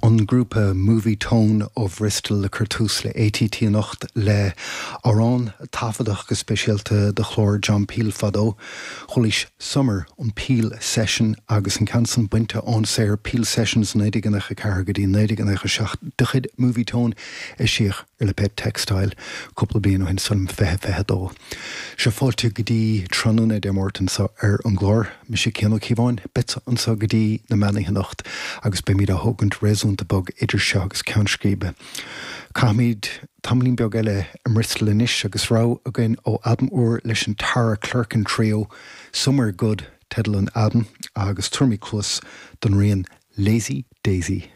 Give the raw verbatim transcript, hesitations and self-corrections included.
An grúpa Movietone ó Bhristol le cur tús le A T T anocht le amhrán taifeadach go speisialta do chlár John Peel fadó. Chualaís Summer, an Peel Session, agus an ceann san bainte ón saothar Peel Sessions naoi déag nócha ceathair go dtí naoi déag nócha seacht de chuid Movietone, eisíodh ar lipéad Textile cúpla bliain ó shin san fiche fiche dó. Seo fáilte go dtí tráthnóna Dé Máirt anseo ar an gclár. Mise Cian Ó Cíobháin, beidh anseo go dtí na meánoíche anocht agus beimid á thógaint réasúnta bog idir seo agus ceann scríbe. Caithfimid tamaillín beag eile i mBristol anois agus rogha againn ó albam úr leis an Tara Clerkin Trio. Somewhere Good teideal an albaim, agus tabharfaimid cluas don rian Lazy Daisy.